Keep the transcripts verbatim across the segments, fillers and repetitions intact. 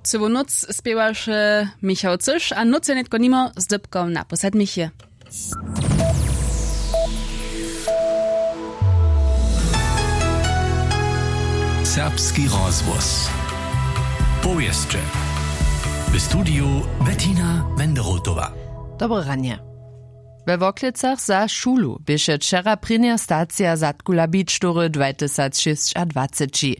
Cyłu nóc spěwaše Michał Cyš a nóc je nětko nimo z dypkom na pósadmichje. Serbski rozhłos. Powěsće. W studiju Bettina Wenderotowa. Dobre ranje. We Worklecach za šulu běše wčera prěnja stacija zadkula bić tory dwatysacšěsćadwaceći.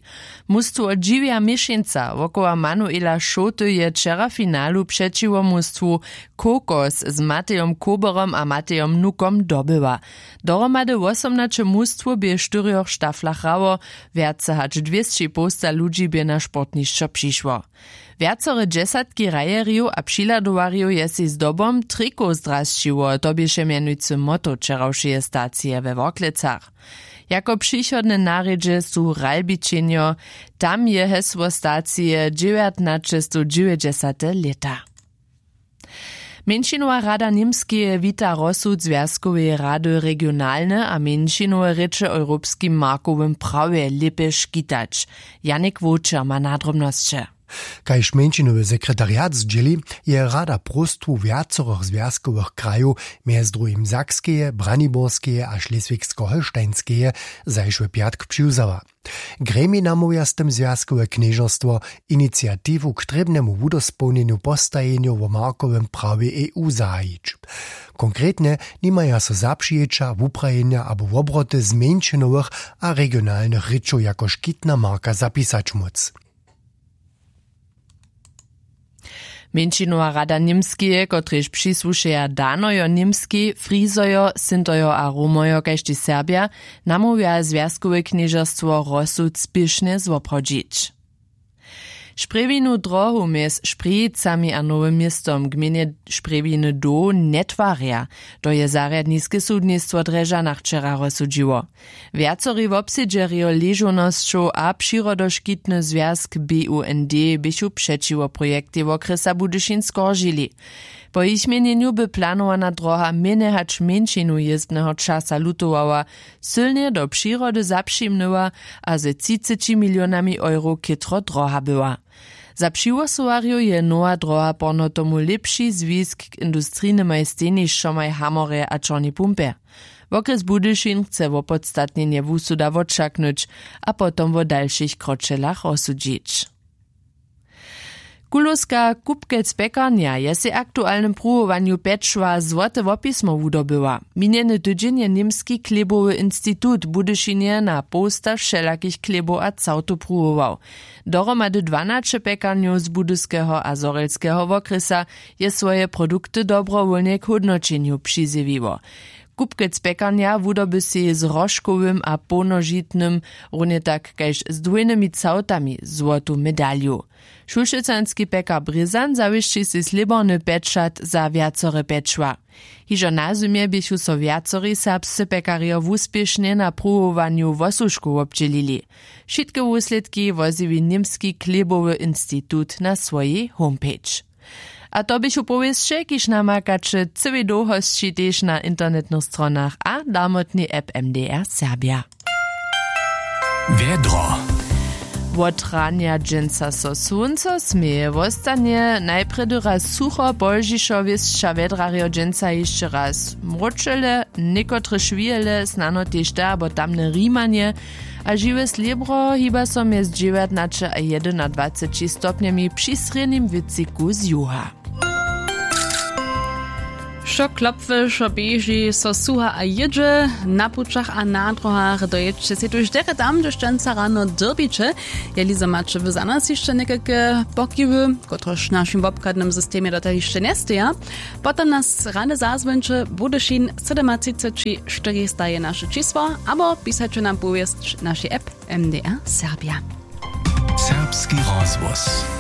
Mustwo Dźiwja Měšeńca wokoło Manuela Šołty je wčera w finalu přećiwo mustwu Kokos z Matejom Koberom a Matejom Nukom dobyła. Dohromady wosomnaće mustwow bě w štyrjoch štaflach hrało, wjace hač dwěsći połsta ludźi bě na sportnišćo přišło. Wjacore dźesatki hrajerjow a přihladowarjow je sej zdobom trikow zdrasćiło, to běše mjenujcy motto wčerawšeje stacije we Worklecach. Jako přichodne narjedźe su Ralbičenjo, tam je hesło stacije dźewjatnaćestowdźewjećdźesate lěta. Mjeńšinowa rada Němskeje wita rozsud Zwjazkoweje rady regionalne a mjeńšinowe rěče w europskim markowym prawje lěpje škitać. Janik Wowčer ma nadrobnosće. Kaž mjeńšinowy sekretariat zdźěli, je rada próstwu wjacorych zwjazkowych krajow, mjez druhim Sakskeje, Braniborskeje a Šleswigsko-Holštajnskeje, zašły pjatk přiwzała. Gremij namołwja z tym zwjazkowe knježerstwo, iniciatiwu k trěbnemu wudospołnjenju postajenjow wo markowym prawje E U zahajić. Konkretnje nimaja so zapřijeća, wuprajenja abo wobroty zmjeńšinowych a regionalnych rěčow jako škitna marka zapisać móc. Mjeńšinowa rada Němskeje, kotrež přisłušeja Danojo Němskej, Frizojo, Sintojo a Romojo kaž tež Serbja, namołwja zwjazkowe knježerstwo rozsud spěšnje zwoprawdźić. Šprjewinu drohu mjez Šprjejicami a Nowym Městom gmejnje Šprjewiny doł njetwarja. To je zarjadniske sudnistwo w Drježdźanach wčera rozsudźiło. Wjacorej wobsedźerjo ležownosćow a přirodoškitny zwjazk B U N D běchu přećiwo projektej wokrjesa Budyšin skoržili. Po jich měnjenju by planowana droha mjenje hač mjeńšinu jězbneho časa lutowała, sylnje do přirody zapřimnyła a ze třiceći milionami euro chětro droha była. Za přihłosowarjow je nowa droha porno tomu lěpši zwisk k industrijnymaj stejnišćomaj w Hamorje a Čornej Pumpje. Wokrjes Budyšin chce wopodstatnjenje wusuda wotšaknyć a potom wo dalšich kročelach rozsudźić. Kulowska Kupkec pjekarnja je sej w aktualnym pruwowanju pječła złote wopismo wudobyła. Minjeny tydźeń je Němski chlěbowy institut w Budyšinje na połsta wšelakich chlěbow a całtow pruwował. Dohromady dwanaće pjekarnjow z Budyskeho a Zhorjelskeho wokrjesa je swoje produkty dobrowólnje k hódnoćenju přizjewiło. Kupkec pjekarnja wudoby sej z hroškowym a połnožitnym, runje tak kaž z dwójnymi całtami, złotu medalju. Šulšecanski pjekar Brězan zawěsći sej slěborny pječat za wjacore pječła. Hižo na zymje běchu so wjacori serbsce pjekarjo wuspěšnje na pruwowanju wosłužkow wobdźělili. Wšitke wuslědki wozjewi Němski chlěbowy institut na swojej homepage. A to běchu powěsće, kiž namakaće cyłej dołhosći tež na internetnych stronach a darmotnej app M D R Serbja. Wjedro. Wot ranja dźensa so słónco směje, wostanje najprjedy raz sucho, pozdźišo wěsća wjedrarjo dźensa hišće raz mróčele, někotrež wijele snano tež te abo tamne rimanje, a žiwe slěbro hiba so mjez dźewjatnaće a jedynadwaceći stopnjemi při srjednim wětřiku z juga. Wšo klopwy, wšo běži, so suha a jědźe. Na pućach a na dróhach dojědźće sej tuž derje tam, hdźež dźensa rano dyrbiće. Jeli zo maće wy za nas hišće někajke pokiwy, kotrež w našim wobchadnym systemje dotal hišće njesteja, potom nas rady zazwońće. Budyšin sydomatřiceći štyrista je naše čisło, abo pisaće nam powěsć w našej app M D R Serbja. Serbski rozhłos.